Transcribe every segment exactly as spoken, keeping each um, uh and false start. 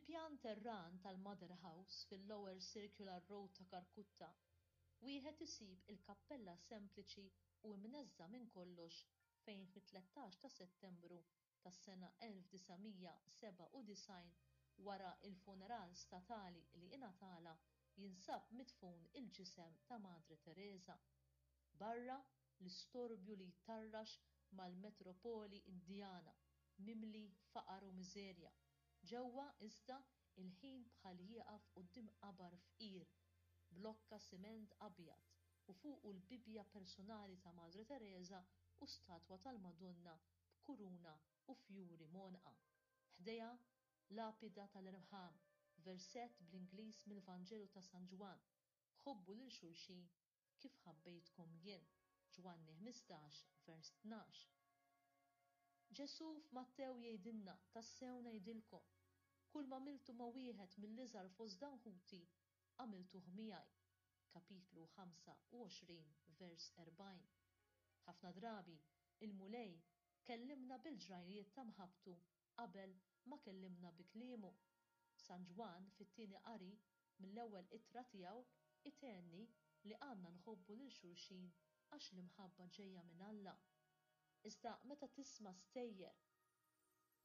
Fil-pjan terran tal-Mother House fil-Lower Circular Road ta' Kalkutta, wieħed isib il-kappella sempliċi u imneżża' minn kollox fejn fit-tlettax ta' Settembru tas-sena elf disa' mija sebgħa u disgħin wara l-funeral statali li ingħatala jinsab midfun il-ġisem ta' Madre Teresa. Barra l-istorbju li jtarrax mal-metropoli Indjana, mimli faqar u miżerja. Ġewwa, iżda, il-ħin bħal jieqaf quddiem qabar fqir, blokka siment abjad u fuqu l-Bibbja personali ta' Madre Teresa u statwa tal-Madonna b'kuruna u fjuri m'għonqha. Ħdejha lapida tal-irħam, versett bl-Ingliż mill-Vanġelu ta' San Ġwann, Ħobbu lil xulxin kif ħabbejtkom jien, Ġwanni ħmistax, vers tnax. Ġesù f'Mattew jgħidilna, Tassew ngħidilkom, kull ma għamiltu ma' wieħed mill-iżgħar fost dawn ħuti, għamiltuh miegħi. Kapitlu ħamsa u għoxrin, vers erbgħin. Ħafna drabi, il-Mulej kellimna bil-ġrajjiet ta' mħabbtu qabel ma kellimna bi kliemu. San Ġwann fit-tieni qari mill-ewwel ittra tiegħu itenni li għandna nħobbu lil xulxin għax l-imħabba ġejja minn Alla. Iżda meta tisma' stejjer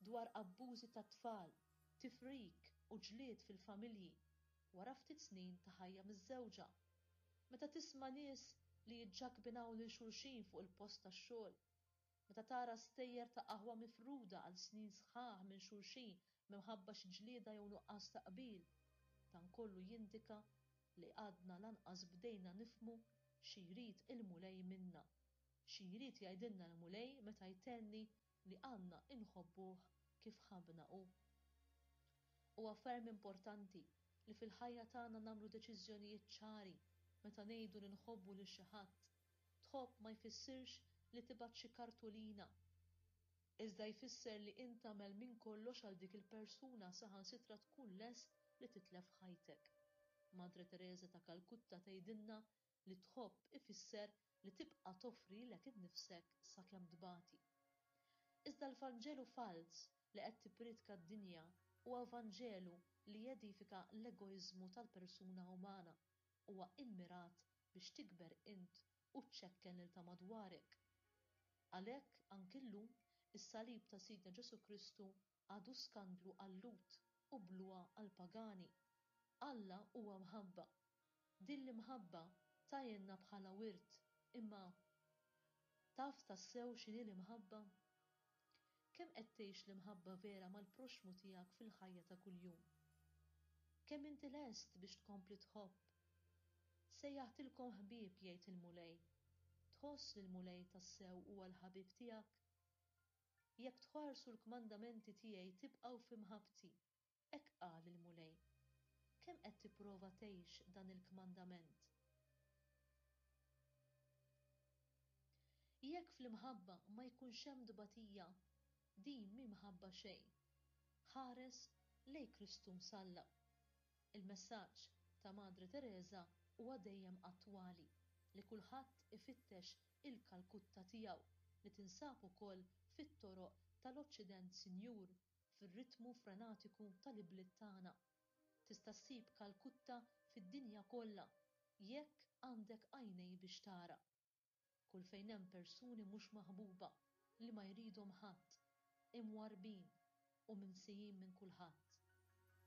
dwar abbużi tat-tfal, tifrik u ġlied fil-familji wara ftit snin ta' ħajja miżżewġa, meta tisma' nies li jiġġakbinaw lil xulxin fuq il-post tax-xogħol, meta tara stejjer ta' aħwa mifruda għal snin sħaħ minn xulxin minħabba xi ġlieda jew nuqqas ta' qbil, dan kollu jindika li għadna lanqas bdejna nifhmu xi jrid il-Mulej minna, xi jrid jgħidilna l-Mulej meta jtenni li għandna inħobbuh kif ħabbna hu. Huwa ferm importanti li fil-ħajja tagħna nagħmlu deċiżjonijiet ċari meta ngħidu li nħobbu lil xi ħadd. Tħobb ma jfissirx li tibgħat xi kartolina, iżda jfisser li int tagħmel minn kollox għal dik il-persuna saħansitra tkun lest li titlef ħajtek. Madre Teresa ta' Kalkutta tgħidilna li tħobb ifisser li tibqa' toffri lilek innifsek sakemm tbati. Iżda l-Vanġelu falz li qed tippriedka d-dinja huwa Vanġelu li jedifika l-egoiżmu tal-persuna umana, huwa immirat biex tikber int u ċċekken lil ta' madwarek. Għalhekk anki llum is-salib ta' Sidna Ġesù Kristu għadu skandlu għal-Lhud u bluha għall-pagani. Alla huwa mħabba. Din l-imħabba tajjenna bħala wirt, imma taf tassew x'inhi l-imħabba? Kemm qed tgħix l-imħabba vera mal-proxxmu tiegħek fil-ħajja ta' kuljum? Kemm inti lest biex tkompli tħobb? Sejjaħtilkom ħbieb, jgħid il-Mulej. Tħoss li l-Mulej tassew huwa l-ħabib tiegħek? Jekk tħarsu l-kmandamenti tiegħi tibqgħu fi mħabbti, hekk qal il-Mulej. Kemm qed tipprova tgħix dan il-kmandament? Jekk fl-imħabba ma jkunx hemm tbatija, din mhi mħabba xejn. Ħares lejn Kristu msallab. Il-messaġġ ta' Madre Teresa huwa dejjem attwali, li kulħadd ifittex il-Kalkutta tiegħu li tinsab ukoll fit-toroq tal-Oċċident Sinjur, fir-ritmu frenatiku tal-ibliet tagħna. Tista' ssib Kalkutta fid-dinja kollha jekk għandek għajnej biex tara. Kull fejn hemm persuni mhux maħbuba li ma jridhom ħadd, imwarrbin u minsijin minn kulħadd.